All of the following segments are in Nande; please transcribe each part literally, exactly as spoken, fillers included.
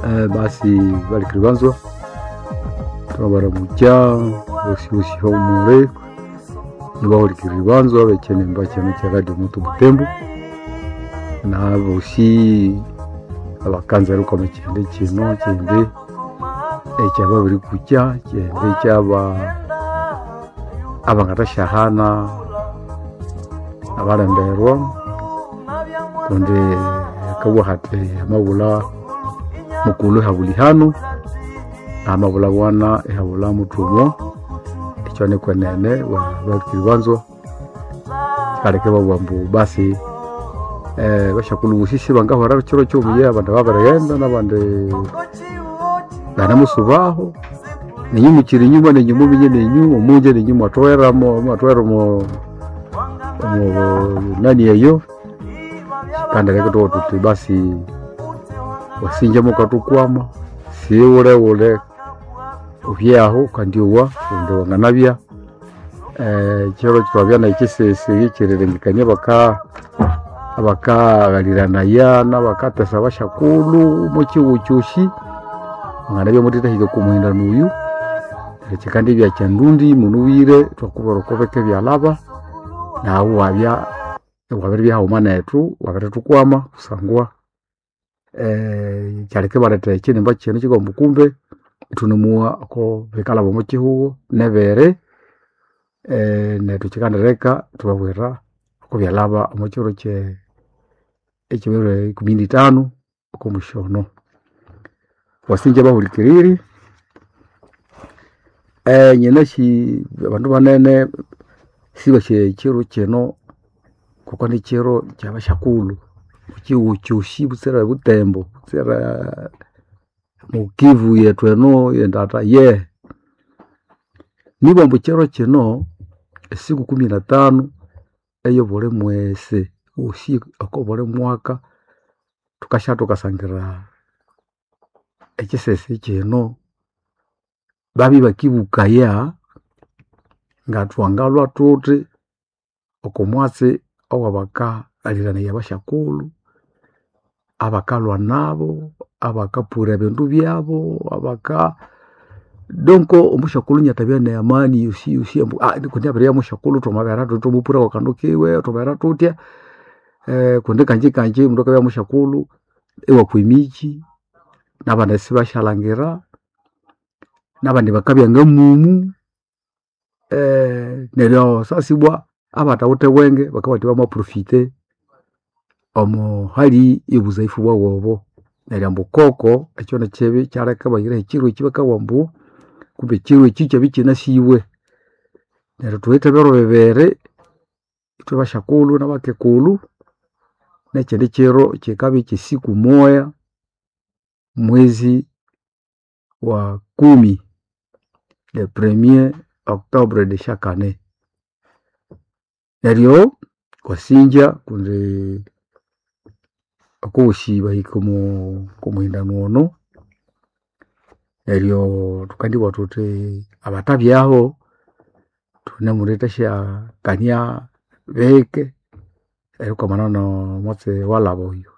Eh, basi balikiribanzwa twabaramukya bosi bosi homule nibahulikiribanzwa bechenemba chino cha Radio Moto Butembo na bosi abakanza rukoma chende chino chende ekyababiri kukya chende kyaba abangatashahana abalemberwa kundi akabugha hati amabula mukulu ihabula ihanu amabula bwana ihabula muthumwa ekyo nikwenene balikiribanzwa kaleke babugha ambu basi eh, bashakulhu bosi sibangahwera kiro kyobuya abandi babirighenda nabandi banamusubaho ninyu mukiri inyuma ninyu muminye ninyu omunje ninyu mwathoghera mwathoghera omo omo nani eyo kandi leka thuba thuthi basi wasinja mukathukwama siwulewule ubyaho kandi owa kundi wanganabya eh, kiro twabya nekisesi ekyerirengekania baka abakaghaliranaya nabakatesa bashakulhu mukighuu kyosi wanganabya muthithahika okwa muhindano oyu neryo kyikandibya kyandundi munubwire ithwakubwira oko bike byalhaba naghu iwabya iwabiribya haghuma nethu wabirithukwama kusangwa eh, kyaleka ibaletha ekyinimba kino kikaghamba kumbe ithunemuwa oko bikalhaba omo kihugho nebere eh, nethu kyikandireka ithwababwira oko byalhaba omo kiro kye ekyebiro ikumi nithanu oko musyono. Wasinja bahulikiriri eh, nyinasi abandu banene sibasi ekiro kino kuko nikiro kyabashakulhu ekihugho kyosi butsira Butembo butsira mukivu yethu eno endata ye nibwa ambu ekiro kino esiku kumi na tano eyobuli mwesi osi oko buli mwaka thukasya thukasangira ekisesi kino babya ibakibukaya ngathwangalhwa thuthi oko mwatsi owabakaghaliranaya abashakulhu abakalhwa nabo abakapura ebindu byabo abaka donc omushakulhu inathabya ne amani yosi yosi ambu kundi abiribya mushakulhu thwamabera thuthi thwamupura kwakandu kiwe thwamabera thuthya eh, kundi kanji kanji omundu akabya mushakulhu iwakwa emikyi nabandi isibashalhangira nabandi bakabya ngamumu eh, neryo sasa ibwa abathawithe bwenge bakabugha bathi bamaprofite omo hali yobuzaifu bwabu obo neryo ambu koko ekyo nikyibi kyaleka ibahiraho ekyiro ekyi bakabugha ambu kumbe ekyiro ekyi kyabya ikyinasiwe neryo thuwithe ebiro bibiri ithwe bashakulhu nabakekulhu nekyindi kyiro kyikabya kyesiku moya mwezi wa kumi le premier octobre de chaque année neryo wasinja kundi okowosi bahika omo omuhindano ono neryo thukandibugha thuthi abathabyaho thunemulithasya bike erikwamana nomwatsi walhaba oyu.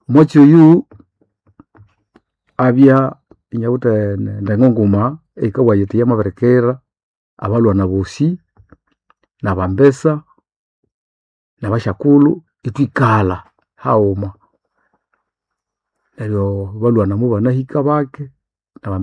Omwatsi oyu abya inawithe endengo nguma eyikabugha yithi yamabirikira abalhwana bosi nabambesa nabashakulhu ithwikalha haghuma neryo balhwana mubanahika bake nabambesa.